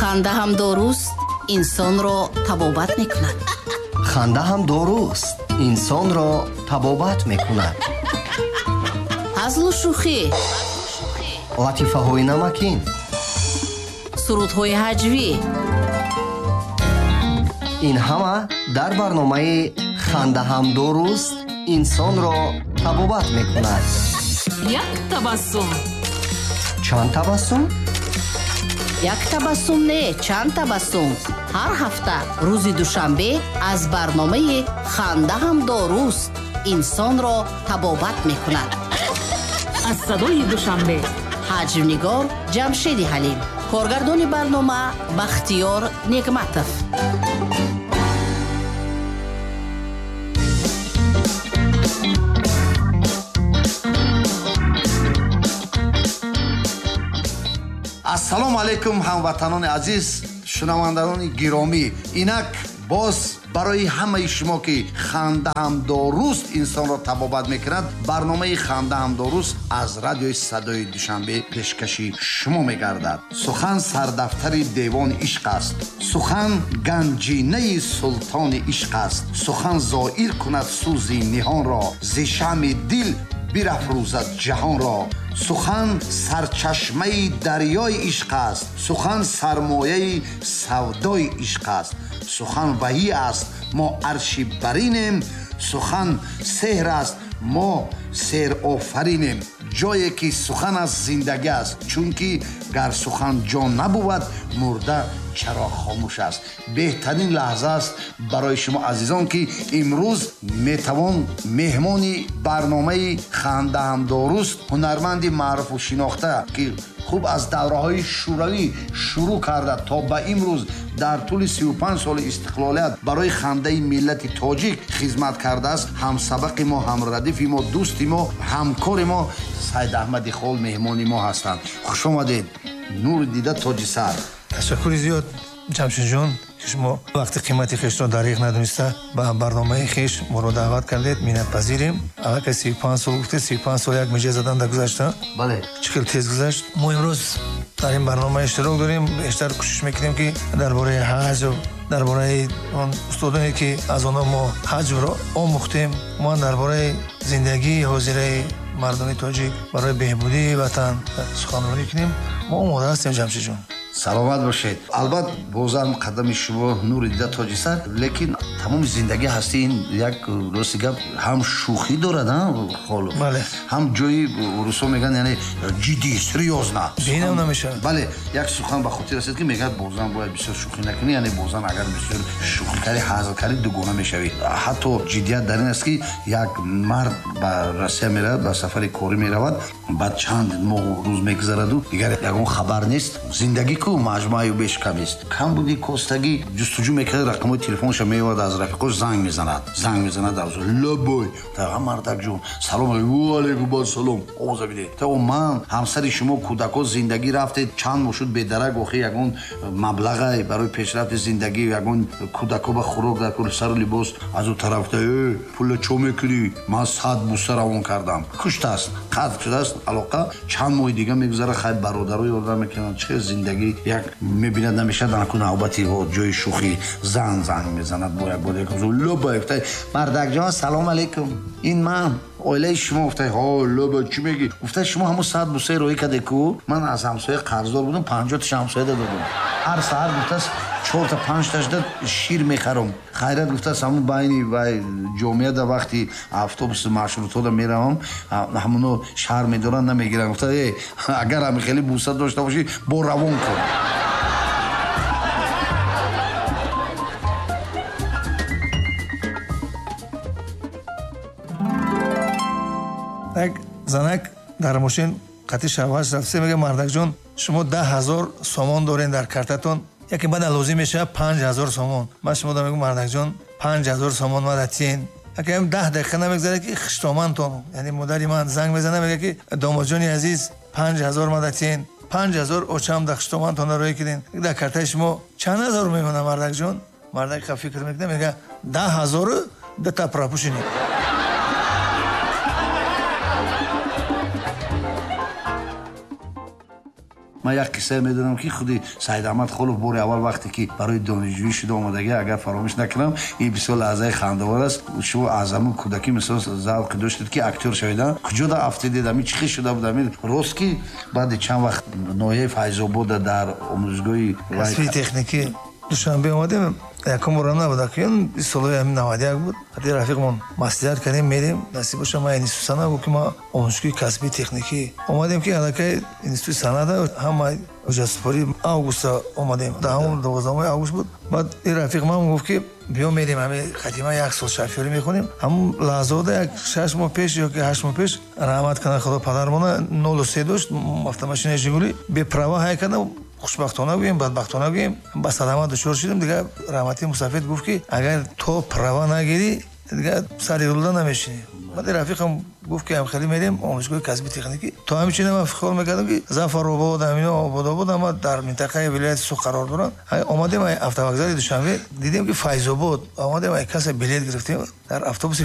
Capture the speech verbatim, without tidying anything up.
Ханда ҳам доруст, инсонро табобат мекунад. Ханда ҳам доруст, инсонро табобат мекунад. Ҳазлу шӯхӣ, латифаҳои намакин, сурудҳои ҳаҷвӣ. Ин ҳама дар барномаи ханда ҳам доруст, инсонро табобат мекунад. Як табассум. Чанд табассум? Як табассум не, чанд табассум. Ҳар ҳафта рӯзи душанбе аз барномаи ханда ҳам доруст, инсонро табобат мекунад. Аз садои Душанбе. Ҳаҷвнигор Ҷамшеди Ҳалим, коргардони барнома Бахтиёр Негматов. Ассалому алайкум ҳамватанони азиз, шунавандагони гиромӣ. Инак боз барои ҳамаи шумо ки ханда ҳам доруст инсонро табобат мекунад, барномаи ханда ҳам доруст аз радиои садои Душанбе пешкаши шумо мегардад. Сухан сардафтари девони ишқ аст. Сухан ганҷинаи султони ишқ аст. Сухан зоир кунад сӯзи ниҳонро, зи шамъи дил бирафрӯзад ҷаҳонро. Сухан сарчашмаи дарёи ишқ аст. Сухан сармояи савдои ишқ аст. Сухан ваҳӣ аст, мо арши баринем. Сухан сеҳр аст, мо сеҳрофаринем. Ҷое ки сухан аст, зиндагӣ аст, чунки гар сухан ҷон набувад, мурда чаро хомӯш аст. Беҳтарин лаҳза аст барои шумо азизон, ки имрӯз метавон меҳмони барномаи ханда ҳам доруст, ҳунарманди маъруфу шинохта, ки хуб аз давраҳои шӯравӣ шурӯъ карда то ба имрӯз дар тӯли сию панҷ соли истиқлолият барои хандаи миллати тоҷик хизмат кардааст, ҳамсабақи мо, ҳамрадифи мо, дӯсти мо, ҳамкори мо Сайд Аҳмади Хол меҳмони мо ҳастанд. Хуш омадед, нури дида тоҷи сар. Ташаккури зиёд, Ҷамшедҷон, ки шумо вақти қимати хешро дариғ надониста ба барномаи хеш моро даъват кардед. Миннатпазирем. Аллакай сию панҷ сол гуфтед, сию панҷ сол як миҷа задан дар гузашта. Бале. Чӣ хел тез гузашт. Мо имрӯз дар ин барнома иштирок дорем. Бештар кӯшиш мекунем, ки дар бораи ҳаҷв, дар бораи он устодоне, ки аз онҳо мо ҳаҷвро омӯхтем, мо дар бораи зиндагии ҳозираи мардуми тоҷик барои беҳбудии ватан суханронӣ кунем. Мо омода ҳастем, Ҷамшедҷон. Саломат бошед. Албат, бозам қадами шумо нури дида тоҷи сар, лекин тамоми зиндагӣ ҳасти ин як рости гап ҳам шӯхӣ дорад, холу ҳам ҷои русо мегӯянд, яъне ҷиддӣ, серьёзно. Бинам намешавад. Бале, як сухан ба хотир расид, ки мегӯяд бозам бояд бисёр шӯхӣ накунӣ, яъне бозам агар бисёр шӯхӣ карӣ, ҳазл карӣ, дугона мешавӣ. Ҳатто ҷиддият дар ин аст, ки як мард ба Россия меравад, ба сафари корӣ меравад, баъд чанд моҳу рӯз мегузараду дигар ягон хабар нест. Зиндагӣ ку маҷмӯаю беш кам аст. Кам буди костагӣ ҷустуҷӯ мекард, рақамҳои телефонша меовард, аз рафиқош занг мезанад, занг мезанад, лабой та мардакҷон, салом, алейкум ассалом, овоза бидед, та ман ҳамсари шумо, кӯдако, зиндагӣ рафтед, чанд моҳ шуд бедарак, охи ягон маблағе барои пешрафти зиндагӣ, ягон кӯдако ба хӯрок дар кул, сару либос. Аз ӯ тараф та э пула чо мекунӣ, ман сад буса равон кардам. Куштааст, қатъ шудааст алоқа. Чанд моҳи дига мегузара, хай бародаро ёрдам мекунанд, чӣ зиндагӣ як мебинад, намешавад, анаку навбати ҷои шӯхӣ зан занг мезанад бо як бор лоба, мардакҷон, салом алейкум, ин ман оилаи шумо. Гуфта ҳо лоба, чӣ мегӣ? Гуфта шумо ҳамун сад бусаи роҳӣ карде ку, ман аз ҳамсоя қарздор будам, панҷоҳташа ҳамсоя додам. Ҳар саҳар гуфтааст чорта панҷташда шир мехарам. Хайрат гуфтааст ҳамун байни вай ҷомеа да вақти автобуси маршрутҳода меравам, ҳамуно шаҳр медоранд, намегиранд. Гуфта э агар ҳами хеле буса дошта бошӣ, бо равон кун. Як занак дар мошин қатъи шавҳараш рафта, мегӯяд: мардакҷон, шумо даҳ ҳазор сомон дорен дар картатон, яке баъда лозим мешавад панҷ ҳазор сомон. Ман шумо мегӯям, мардакҷон, панҷ ҳазор сомон мада тиен. Акам даҳ дақиқа намегузарад, ки хиштомантон, яъне модари ман, занг мезанад, мегӯяд, ки домодҷони азиз, панҷ ҳазор мада тиен, панҷ ҳазор очам дар хиштомантон роҳӣ кардем. Дар картаи шумо чанд ҳазор мемонад, мардакҷон? Мардак фикр мекунад, мегӯяд даҳ ҳазору дута пропушини. Ман як қиссае медонам, ки худи Саидаҳмад Холов бори аввал вақте ки барои донишҷӯӣ шуда омадагӣ, агар фаромӯш накунам, ин бисёр лаҳзаи хандаовар аст. Шумо аз ҳамун кӯдакӣ, мисол, завқе доштед, ки актёр шавед, куҷо да афтидед? Ами чӣ хел шуда буд? Ами рост, ки баъди чанд вақт ноҳияи Файзобода дар омӯзгоҳи касби техникӣ Душанбе омадем, якум борам набуд, акун солҳои ҳамин наваду як буд. Ҳати рафиқмон маслиҳат кардем, мерем, насиб боша, ман институт санъат. Гуфт, ки ман омӯзишгоҳи касбии техникӣ омадем, ки аллакай институти санъата ҳама ҳуҷҷатсупорӣ, августа омадем, даҳум, дувоздаҳуми август буд. Баъд ин рафиқ ман гуфт, ки биё, мерем, ҳами хатима як сол шофёрӣ мехонем. Ҳамун лаҳзаода, як шаш моҳ пеш ё ки ҳашт моҳ пеш, раҳмат кунад Худо падармона, нолу се дошт автомашинаи Жигули, беправа ҳай кардам. Хушбахтона гӯем, бадбахтона гӯем, ба садама дучор шудем. Дигар раҳматии мусафед гуфт, ки агар то права нагирӣ, дигар сари рулда намешинӣ. Баъд рафиқам гуфт, ки ҳам хеле мерем омӯзгоҳи касби техникӣ. То ҳамчунин ман фикр мекардам, ки Зафаробод, ҳамино Ободобод ҳама дар минтақаи вилояти Суғд қарор доранд. Омадем автовокзали Душанбе, дидем, ки Файзобод. Омадем, ай касса билет гирифтем, дар автобуси